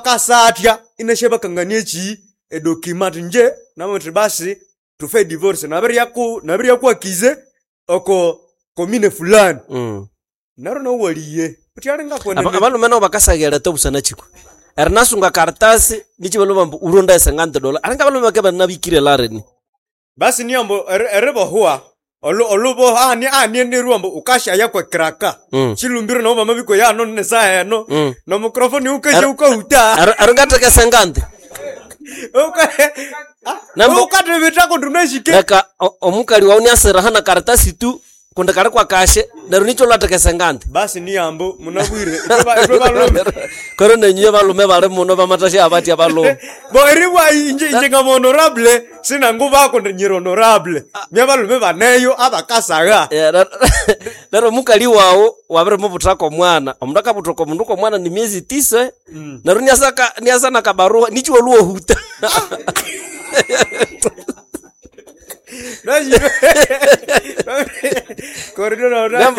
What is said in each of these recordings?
Akasatya inasya bakangania eki edocument athi ingye namabuwa nyithi basi thufe edivorce nabiryaku nabiryaku-accuser oko commune fulani. Neryo nawu iwalighe wuthi alinga kwenene. Abalhume nabo bakasagha ereta busana kyi kwe? Erinasunga ekaritasi nikyi ibalhwa babughambu wurondaye 50 dollars. Alinga abalhume bakabya ibanabikire elarini. Basi ni ambu eribohwa oluboho ahani eneru ambu wukasyaya kwe kiraka. Kyilumbiro nabo bamabikweya hano nesaha eno nomucrophone wukasya wukahuta. Ero ngatheka 50. Wukathibitha kundi wunasi ke. Leka omukali wawu iniasira hana karitasi tu kundi kali kwakashe neryo nikyo lwatheka 50. Basi ni ambu munabwire ithwe balhume. Koro nenyuwe balume bali muno bamathasya abatya balume. Bo eribwa inje ngama honorable sinangubako kundi nyiri honorable. Mya balume baneyo abakasagha. Neryo omukali wawu wabirimubuthako omwana, omundu akabutha oko mundu kwomwana ni miezi 9. Neryo iniasa nakabarua nikyi walhwa wahuta.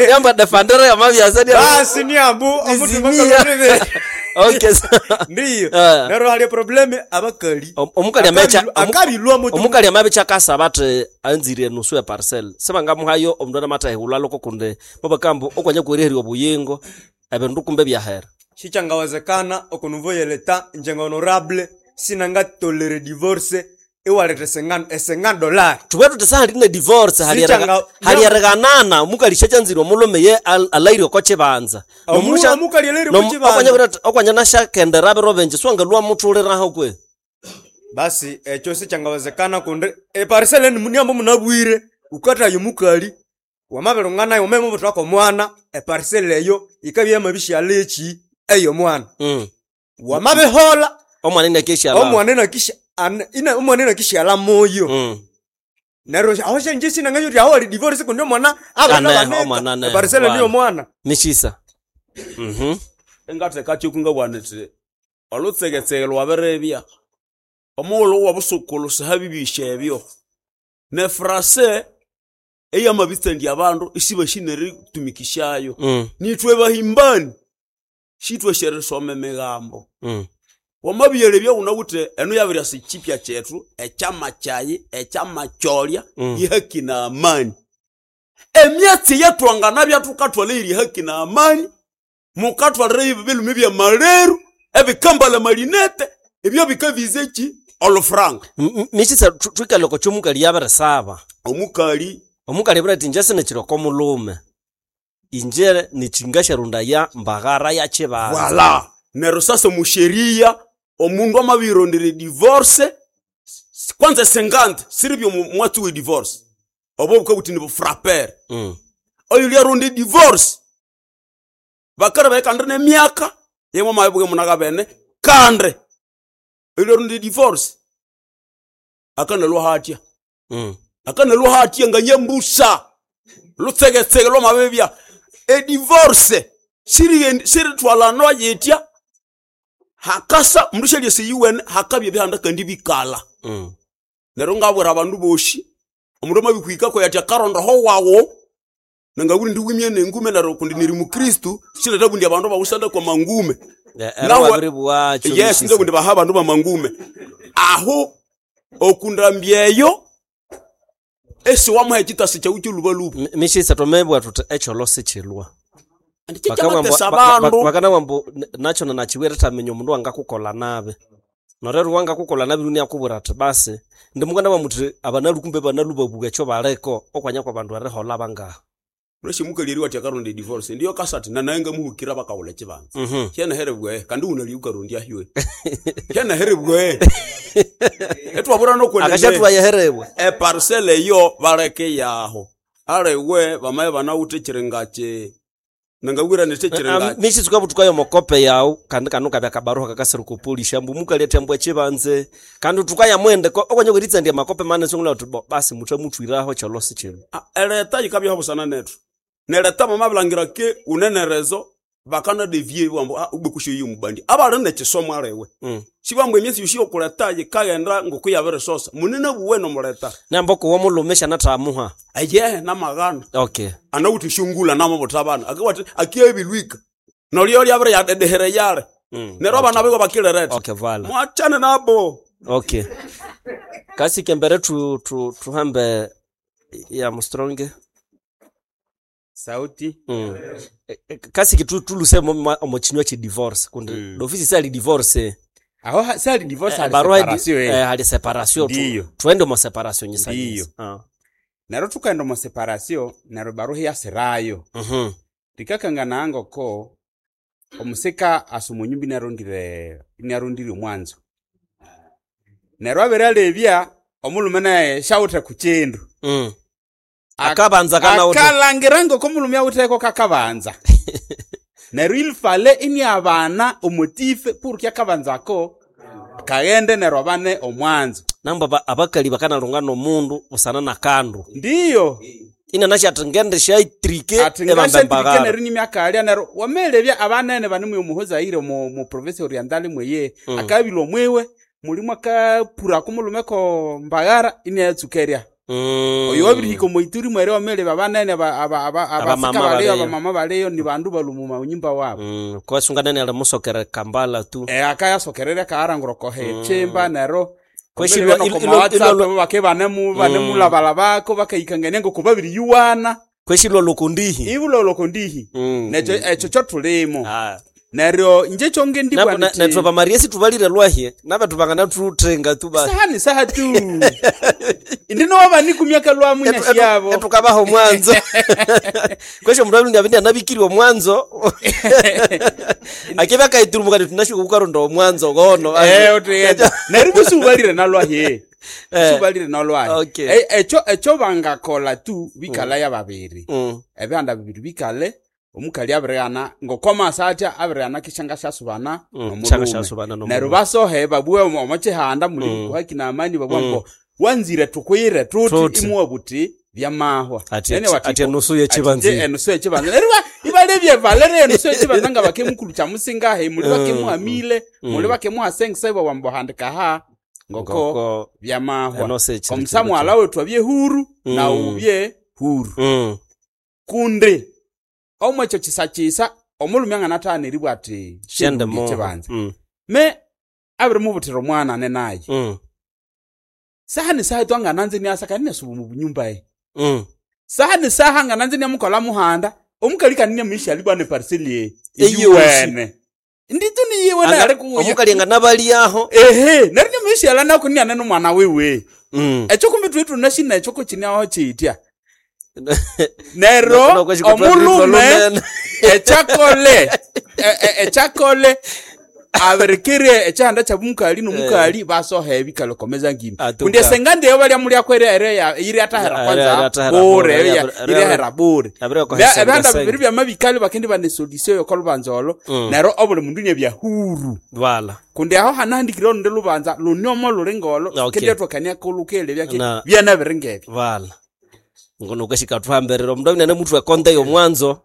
Nyamba defendere yamabyasa Basi ni ambu omuthima Nizimia. kalolebe. Okay. Ndiyo. Ah. Neryo hali probleme abakali. Omukali amecha Akabilwa mutu. Omukali amabicha akasaba athi anzire enusu ya parcel. Sibangamuhayo omundu anamatahehulha loko kundi babakambu okwanya kweriherya obuyingo ebindu kumbe byahera. Sikyangawezekana oko niveau ye leta inje nga honorable sinangatolere divorce iwaletha 50 dollars. Thubwe thuthi sahali ne divorce hali erighanana omukali syakyanzire omulhume ye alaire oko kibanza. Omukali alaire oko kibanza. Okwanya nasyakendera biro bingi siwangalhwa muthuliraho kwe. Basi ekyo sikyangawezekana kundi eparcel niambu munabwire wukathaya omukali wamabirunganayo wamabimubuthako omwana eparcel eyo yikabya yamabisyalha eki eyomwana. Wamabiholha omwana inakishyalha. Omwana inakishyalha moyo. Neryo aho syangye sinanganywa uthi aho hali divorce kundi omwana Aneho, abanabanika omwana aneho, eparcel bwana. niyo omwana. Mishisa. Engatheka kyo ngabugha nyithi olhutsegetsege lwabiribya omughulhu wobusukulhu sihabibisya ebyo nefrase eyamabitsandya abandu isibasi neritumikisyayo. Nithwe bahimbani sithwasi erisoma emigambo. Wamabiyalebya wunawithe enu yabiryasa ekyipya kyethu ekyama kyayi ekyamakyolya yehaki na amani. Emyatsi eyathwanganabya thukathwalha eyiri haki na amani mukathwalira ebilume byamaleru ebikambalha amalinete ebyo bikaviza eki olufuranga. Mishisa thwikalhe oko kyomukali yabirisaba. Omukali Omukali abwire athi inje sinikiri oko mulhume. Inje nikyingasyarondaya mbaghara ya kibanza. Voilà. Neryo sasa omusheria omundu amabirondera edivorce kwanza 50 siribyo mwatsi we divorce obo bukabuthi ni bufrapere. Oyo lyaronda edivorce bakara kandi nemyaka yemwe mabibuge munagabene kandi oyo lyaronda edivorce akanalwa hatya. Akanalwa hatya nganyambusa lutsegetsege lwamabibya edivorce sirithwalanwa yitya hakasa mundu syalyasa eyiwene hakabya ebihanda kandi bikalha. Neryo ngabwira abandu bosi omundu amabihikako ati akarondaho wawu nangabugha indi wimye nengume neryo kundi niri mukristu siletha bundi abandu bawusanda kwa mangume. Ero wabiribugha Yes, nze kundi baha abandu bamangume aho okundambya eyo esiwamuha ekitasi kyawu kyolubaluba. Mishisa twamebugha thuthi ekyolho sikyilwa. Kyamatesa abandu. Bakanabugha ambu nakyo nakiwire erithaminya omundu wangakukolha nabi. Neryo wangakukolha nabi inakubwira athi basi indi mukanabugha muthi abanalu kumbe banalu babugha ekyo baliko okwanya kwabandu eriholha bangaha. Unasi omukali eri wathi akaronda edivorce ndiyo kasa ati nanaye ngamuhukira bakawulha ekibanza. Kyanaherebwa kandi wunalya wukarondya hyo kyanaherebwa etwabura nokwenene. Akashathuwa yeherebwa. Eparcel eyo baleke yaho aliwe bamaye banawithe ekiringa kyi nangabwira nithi ekiringa Mishisa wukabuthukayo omokope yawu kandi kano kabya kabaruha kakasira oko polisi ambu omukali athi ambu ekibanze kandi thukaya muhendeko okwanya kweritsandya amakope manene isiwangabugha wuthi bo basi muthamuthwiraho ekyolho sikyilwa. Ereta yikabyaho busana nethu nereta bamabilangira ke wunenerezo bakana devie bambu ubwe mubandi abali nekisomo aliwe. Sibambu emyatsi yosi yokuleta yikaghenda ngoku yabirisosa munene buwe nomuleta. Namba okuwa omulhume syanathamuha. Ayehe namaghana. Okay. Anawithe esyongulha namabutha abana akiwathi akiyabilwika nolyo lyabiri yadedehera yali. Neryo abana biwe bakilireta. Okay, voilà. Mwachane nabo. Okay. Kasi kembere tu tu tuhambe ya mstronge. Sauti. Kasi kitu tuluse omo chinywa chi divorce kundi dofisi sali divorce. Aho sali divorce hali Barua separation. hali separation tu. Tuende mo separation nyisa. Ndiyo. Nero tukaenda mo separation nero baruha yasirayo. Rikakangana ngoko omusika asumunyumbi narondire omwanzo. Nero abiralebya omulume naye shawuthe ku kindu. Akabanza kana uto. Akalangira ngoko omulume awutheko kakabanza. Nero ilfale ini abana omotife purki akabanzako kaghende nero abane omwanzo. Namba abakali bakanalunga nomundu busana na kandu. Ndiyo. Ina nasha atengende shaitrike ebamba mbagara. Nero nimyakalia nero wamelebya abanene banimwe omuhoza ire mu province orientale mweye akabilwa mwewe mulimu akapura kumulume ko mbagara ine yatsukeria. Oyo wabirihika omuituri mwere wamelebya abanene abasika baleyo abamama baleyo ni bandu balumuma unyumba wabo. Kwasunga nene alimusokere Kambala tu. Akayasokerera kaarangura kohe chimba nero bake banemulabalabako bakaikangania ngoko babiri yuwana. Kweshilwa lokondihi. Ibulwa lokondihi. Necho echo chotulimo. Neryo nje chonge ndibwa nti. Netho bamarie situbalire lwahie nabathu bangana tuthenga tu ba. Saha ni saha tu. Indino wabani kumyaka lwamu nyashiyabo. Etukabaho mwanzo. Kwesho mndu abindi abindi anabikiriwa mwanzo. Akeba kaiturumuka tunashuka kukaronda omwanzo gono. Otuyenda. Neryo busubalire nalwahie. Subalire nalwahie. Okay. Echo echo bangakola tu bikala ya babiri. Ebihanda bibiri bikale. Omukali abirigana ngokoma satya abirigana kishanga shasubana nomurume. Neryo basohe babwe omo chihanda muli kuhaki na amani babwa ngo wanzire tukwire tuti imuwa buti byamahwa. Ati enusu yechibanzi. Enusu yechibanzi. Neryo ibalebye valere enusu yechibanzi nga bakemukulu cha musingahe muli bakemuhamile muli bakemuhasengisa wambohandika ha ngoko byamahwa. Komsamwala wetu abye huru na ubye huru. Kundi omwecho chisachisa omulume anganatana eribwa ati shende mo chibanza. Me abiri mubutira omwana ne naye. Saha ni saha twangananze ni asaka ni subu mu nyumba ye. Saha ni saha ngananze ni mukola muhanda omukali kanine misha libwa ne parcel ye. Eyiwene. Nditu ni yewe na ari kuya. Omukali nganabali aho. Ehe, nari ni misha la nako ni anene mwana wewe. Echo kumbi twetu nashina echo ko chini aho chitia. Nero omulume echakole echakole aberekere echanda cha mukali no mukali basohe bikalokomeza ngimi kundi sengande yo bali muri akwere ere ya iri atahera kwanza bure iri ahera bure ebanda bibiri bya mabikali bakendi bane solution yo kolubanzolo nero obuli mundu nye bya huru wala kundi aho hanandikiro nde lubanza lunyomo lulingolo kendi twakania kolukele byake byana biringebe wala ngono kashika tuhambirira omundu abinene muthu ekonde yomwanzo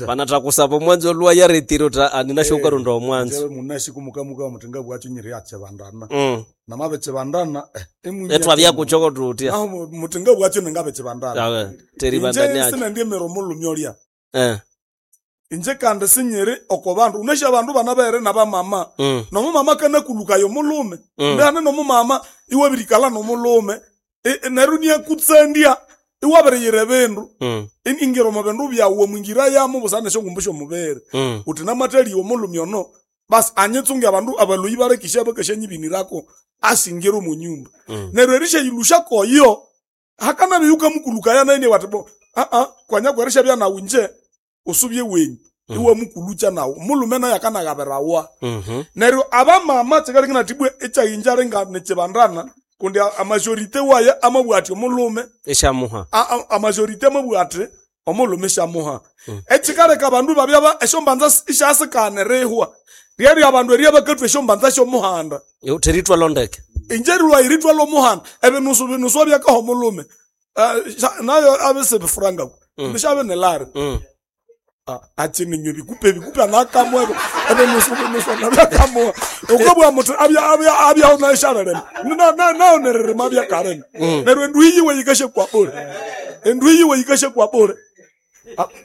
banatha kusaba omwanzo lwa yaretire uta aninasho ukaronda omwanzo munashi kumukamuka mutinga bwacho nyiri yachebandana namabechebandana etwabyakuchoko tutya naho mutinga bwacho ningabechebandana teribandani acho sinendie omulumi olya inje kandi sinyiri oko bandu unashi abandu banabere nabamama nomumama kanakulukayo omulume ndihane nomumama iwabirikala nomulume neryo niakutsandia iwabiriyira ebindu ingira omu bindu byawu omwingira yamo busana esyongumbu syomubiri uthi namathaliwa omulumi ono basi anyitsunge abandu abaloyi balekisya bakasyanyibinirako asingira omu nyumba neryo erisyayilusya koyo hakanabya yukamukulukaya naye wati bo kwanya kwerishabya nawu nje usubye wenyu iwamukulukya nawu omulume naye akanagabirawa neryo abamama kyikaleka nathibwe ekyayinja linga nikyibandana kundi amajorite waye amabwati omulume eshamuha amajorite amabwati omulume shamuha ekikaleka abandu babya esyombanza isyasikana erihwa ryerya abandu erya bakathwa esyombanza syomuhanda teritwa londeke inje rilwa iritwa lomuhanda ebinusu binusu abyakaha omulume nayo abisibifurangako nishabe nelari achininywe bikupe bikupe anakamwe ebinusu binusu anakamwe ukabwa muthu abya abya abya unasharelema na na na onererema abya karema neryo endu yiwe yikashe kwa bure endu yiwe yikashe kwa bure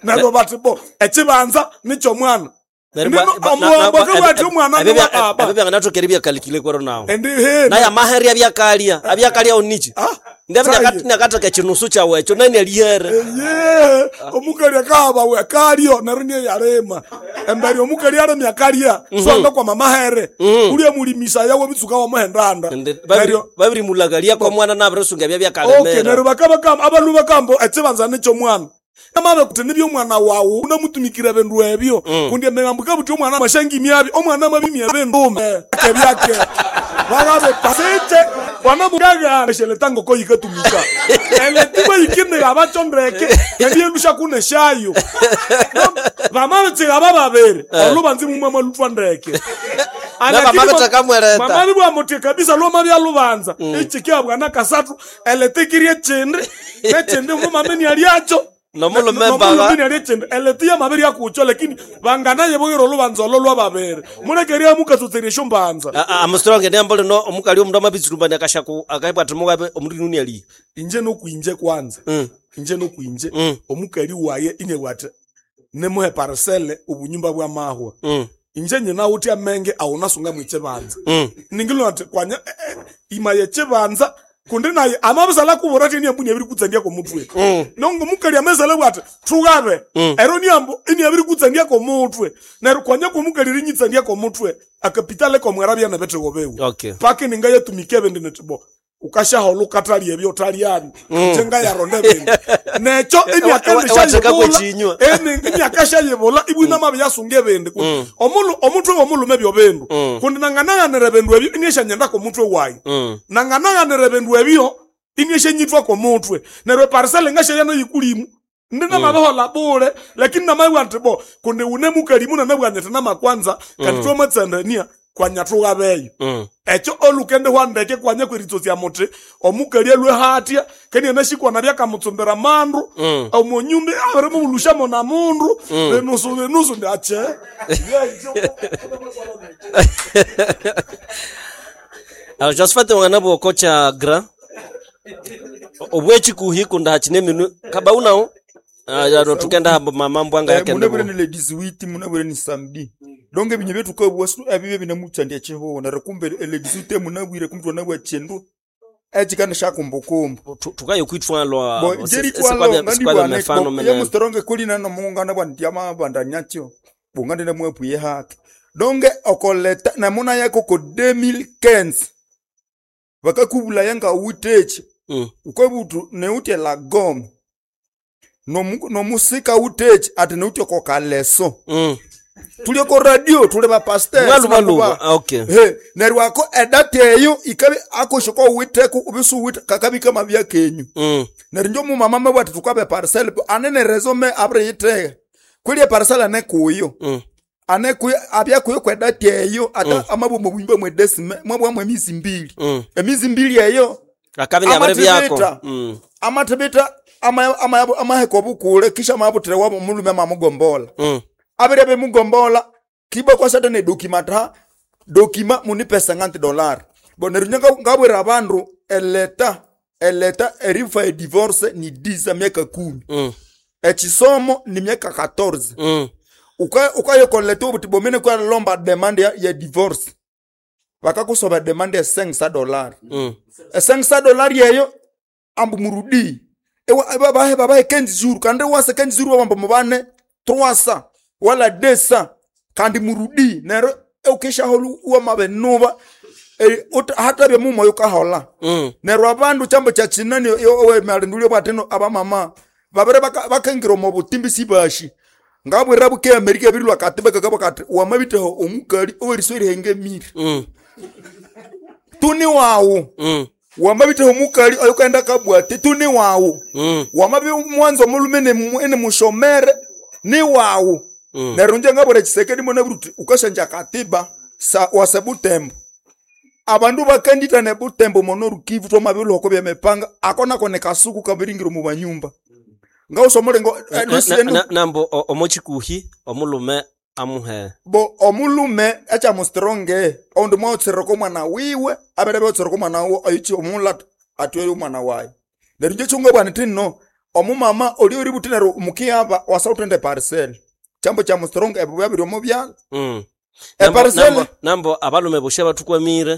neryo bati bo ekibanza nicho mwana Omuwambo akabwati omwana ni wa baba. Ebyo byanganatokera ebyakalikile kwero nawo. Endi he. Naye amahere abyakalia, abyakalia onichi. Saye. Ndabya ekinusu kyawe ekyo nani alihere. Ye, omukali akahaba we akalio neryo niye yalima. Embere omukali alemya akalya, so kwa mamahere. Ulya mulimisa yawe bitsuka wa muhendanda. Neryo babiri mulagalia kwa mwana nabirisunga ebya byakalemera. Okay, neryo bakabakamba abalu bakambo ekibanza nicho mwana. Amabe kuti nibyo omwana wawu unamutumikira bindu ebyo. Kundi emigambo kabuti omwana mashangi myabi, omwana mabimya bindu. Kebyake. Bagabe pasete wana mugaga esheletanga ko yikatumika. Eletiba yikine abachondreke, ebyelusha kuneshayo. Bamabe abababere, olubanzi mumama lutwa ndeke. Mama bwa muti kabisa loma bya lubanza. Echikia bwana kasatu eletekirie chindi, nechindi mumama ni aliacho. Nomulume baba. Eletia mabiri akucho lakini banganaye bogero lubanza lolwa babere. Mulekeria mukatutseresho mbanza. Amustronge ndiyambole no omukali omundu amabitsurumbani akashaku akaibwa ati mugabe omundu nuni ali. Inje nokuinje kwanza. Inje nokuinje omukali waye ine bwate nemuhe parcelle obunyumba bwa mahwa. Inje nyina uti amenge awunasunga mwiche banza. Ningilo ati kwanya imaye chebanza kundi naye amabisala kubora ati niambu niabiri kutsandia ko mutwe. Nongo mukali amezala bwati thugabe. Ero niambu iniabiri kutsandia ko mutwe. Nero kwanya ko mukali rinyitsandia ko mutwe. Akapitale ko mwerabya na betego bewu. Okay. Pake ningaye tumike bende netibo. Ukashahola ukatali ebyo otaliani. Njenga yaronde bende. Necho eniakandisha eniakasha ibwina mabe yasunge bende. Omulu omutwe womulume byo bendu. Kundi nanganaganira bendu ebyo inyesha nyenda ko mutwe wayi. Nanganaganira bendu ebyo inyesha nyitwa ko mutwe. Neryo parcel ngasha yana yikulimu. Ndina mabehola bure lakini namayi bo kundi une mukalimu na nabwanyete namakwanza kandi twamatsanania kwanyathuka beyo. Ekyo olukende hwandeke kwanya kweritsotsia muti omukali elwe hatya keni enashikwana byakamutsumbira mandu omonyumba abere mubulushamo na mundu benusu benusu ndache. Alors Josephat wana bwokocha gra obwechikuhi kunda hachine minu kabaunao ya tukenda mama mbwanga yake munabwire ni ladies wit munabwire ni samedi. Donge binye betu kabwa abibe binamutsandia cheho na rekumbe ladies wit munabwire kumtu nabwa chendu echikana shakumbukumbu tukayo kwitwalwa sikwabya mefano mene ya mustoronge kulina no mungana bwa ndiama bandanyatyo bungande na mwepuye hake donge okoleta na muna yako ko 2015 bakakubula yanga uteche ukobutu neute la gom no musika uteche ati neute kokaleso tuli ko radio tuli ba pasteur malu okay he neryo ako edate eyo ikabe akoshoko witeku ubisu wit kakabika mabya kenyu neryo njo mu mama mabwati tukabe parcel anene resume abre yite kweli parcel ane kuyo ane kuyo abya kuyo kwedate eyo ata amabomo bwimba mwe desime mwabwa mwe mizi mbili emizi mbili eyo akabe nyabere byako amatebeta ama ama amaheko bukule kisha mabutire wabo mulume mamugombola abere be mugombola kiba kwa satane dokimata dokima munipe $50 bo nerunyanga ngabwera abandu eleta eleta erifa e divorce ni 10 miaka 10 echisomo ni miaka 14 ukayo koleta obuti bomene kwa lomba demand ya divorce bakakusoba demand ya $500 $500 yeyo ambu murudi ewa bahe babahe 15 jours kande wase 15 jours bambo mubane 300 wala 200 kandi murudi nero ukisha holu uwa mabenuba hata bya mumo yukahola nero abandu chambo cha chinani owe malindulio bwateno abamama babere bakengira mu butimbi sibashi ngabwera buke Amerika birilwa katibeka kabakati wamabiteho omukali oweriswere henge miri tuni wawo wamabiteho omukali oyukaenda kabwate tuni wawo wamabi mwanzo mulume ene mushomere ni wawo neryo nje ngabwera Tshisekedi mona buruti ukashanja katiba sa wasebutembo abandu bakandita ne butembo mono rukivu twamabilo bya mepanga akona kone kasuku kabiringiro mu banyumba ngawusomole ngo nambo omochikuhi omulume amuhe bo omulume acha mustronge ondi mwaotsireko mwana wiwe abere beotsireko mwana wo ayichi omula atwere omwana waye neryo nje chunga bwana tinno omumama oli ori butinero mukiaba wasautende parcel Chambo cha mustrong ebuya biri omo byala. Nambo, Eparcele nambo abalume boshe batukwamire.